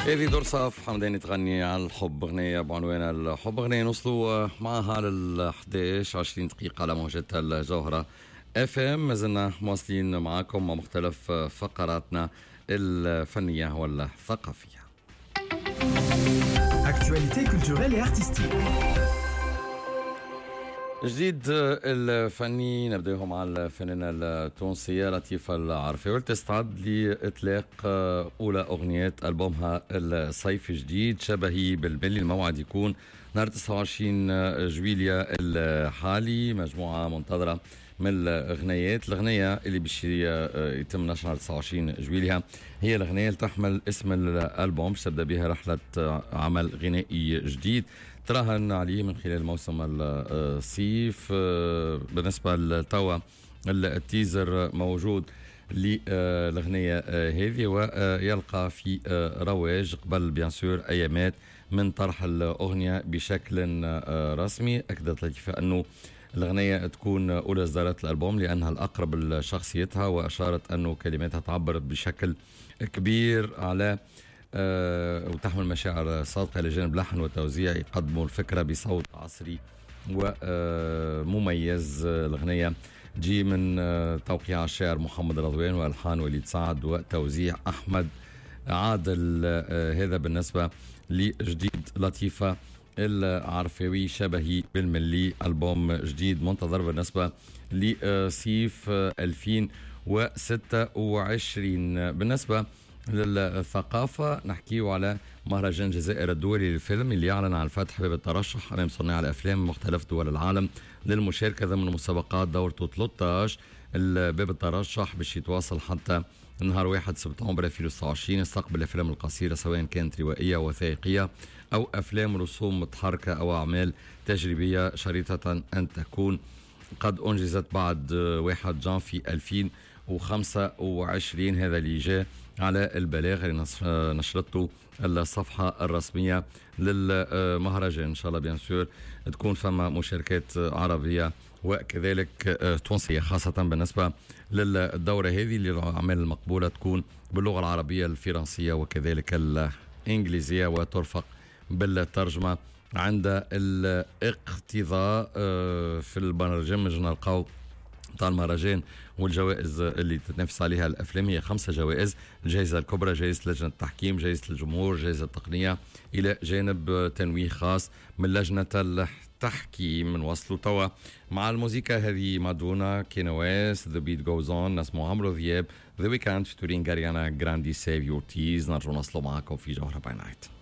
هذه درصاف حمداني تغني على الحب، اغنية بعنوان الحب، اغنية نوصلوا معها لل 11 20 دقيقة على موجة الجوهرة اف ام. مازلنا مواصلين معاكم مع مختلف فقراتنا الفنية والثقافية. Actualité culturelle et artistique. جديد الفني نبداهم مع الفنانة التونسية لطيفة العرفاوي، تستعد لإطلاق أولى أغنيات ألبومها الصيف جديد شبهي بالملي. الموعد يكون نهار 29 جويليا الحالي. مجموعة منتظرة من الأغنيات. الأغنية اللي باش يتم نشرها 29 جويليا هي الأغنية اللي تحمل اسم الألبوم، باش تبدأ بها رحلة عمل غنائي جديد تراهن عليه من خلال موسم الصيف. بالنسبة لتوا ال teaser موجود للأغنية هذه ويلقى في رواج قبل bien sûr أيامات من طرح الأغنية بشكل رسمي. أكدت لطيفة أنه الأغنية تكون أولى إصدارات الألبوم لأنها الأقرب لشخصيتها، وأشارت أنه كلماتها تعبر بشكل كبير على وتحمل مشاعر صادقة، لجانب لحن وتوزيع يقدموا الفكرة بصوت عصري ومميز. الأغنية تجي من توقيع الشاعر محمد رضوان وألحان وليد سعد وتوزيع أحمد عادل. هذا بالنسبة لجديد لطيفة العرفاوي شبهي بالملي، ألبوم جديد منتظر بالنسبة لصيف 2026. بالنسبة للثقافة نحكيه على مهرجان الجزائر الدولي للفيلم اللي يعلن عن فتح باب الترشح أمام صناع الأفلام من مختلف دول العالم للمشاركة ضمن مسابقات دورته 13. باب الترشح باش يتواصل حتى نهار 1 سبتمبر 2026. يستقبل الأفلام القصيرة سواء كانت روائية وثائقية أو أفلام رسوم متحركة أو أعمال تجريبية، شريطة أن تكون قد أنجزت بعد 1 جانفي 2025. هذا اللي جاء على البلاغ اللي نشرته الصفحة الرسمية للمهرجان. إن شاء الله bien sûr تكون فما مشاركات عربية وكذلك تونسية، خاصة بالنسبة للدورة هذه اللي الأعمال المقبولة تكون باللغة العربية، الفرنسية وكذلك الإنجليزية، وترفق بالترجمة عند الاقتضاء. في البرنامج نلقاو تاع المهرجان والجوائز اللي تتنافس عليها الافلام هي 5 جوائز: الجائزة الكبرى، جائزة لجنة التحكيم، جائزة الجمهور، جائزة التقنيه، الى جانب تنويه خاص من لجنة التحكيم. نوصلوا توا مع الموسيقى هذه مادونا، Kanye West، The Beat Goes On، نسمعوا عمرو ذياب، The Weeknd featuring Ariana Grande، Save Your Tears. نرجع نوصلوا معاكم في جوهرة by Night.